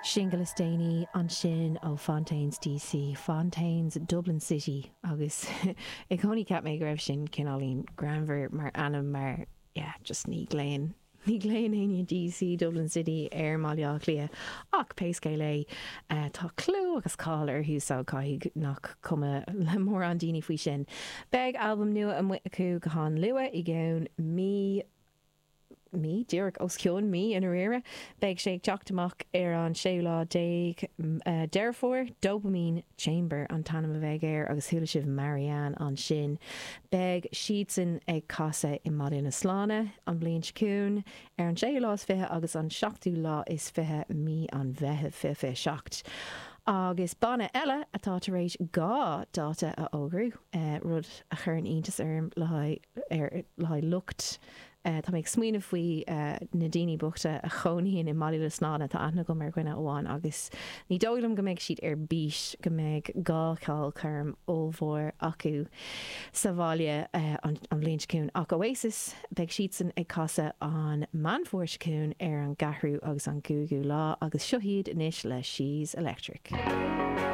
Singil is déanaí ansin ó Fontaines DC, Fontaines Dublin City, agus i gcónaí cheap mé go raibh sin cineáilín greannmhar mar ainm mar yeah just ní ghlaonn, ní ghlaonn éinne DC Dublin City ar mBaile Átha Cliath ach pé scéal é tá clú agus cáil orthu so caithfidh nach cuma le mórán daoine faoi sin. Beidh albam nua amuigh acu go han-luath i gceann mí mí, díreach os cionn mí i ndáiríre. Beidh sé ag teacht amach ar an séú lá déag Deireadh Fómhair. Dopamine Chamber an t-ainm a bheidh air agus chuala sibh Marianne ansin. Beidh siadsan ag casadh i mBaile na Sláine an bhliain seo chugainn ar an séú lá is 20 agus an seachtú lá is 20 mí an Mheithimh 2027. Agus banna eile atá tar éis 2 dáta a fhógrú, rud a chuireann iontas orm le haghaidh lucht Tá mé ag smaoineamh faoi na daoine bochta a chónaíonn i mBaile na Sláine, tá aithne agam ar dhuine amháin agus ní dóigh liom go mbeidh siad ar bís go mbeidh 2 cheolchoirm ollmhór acu sa bhaile an bhliain seo chugainn. Ach Oasis, beidh siadsan ag casadh an Meán Fómhair seo chugainn ar an gceathrú agus an gcúigiú lá agus seo iad anois le She's Electric.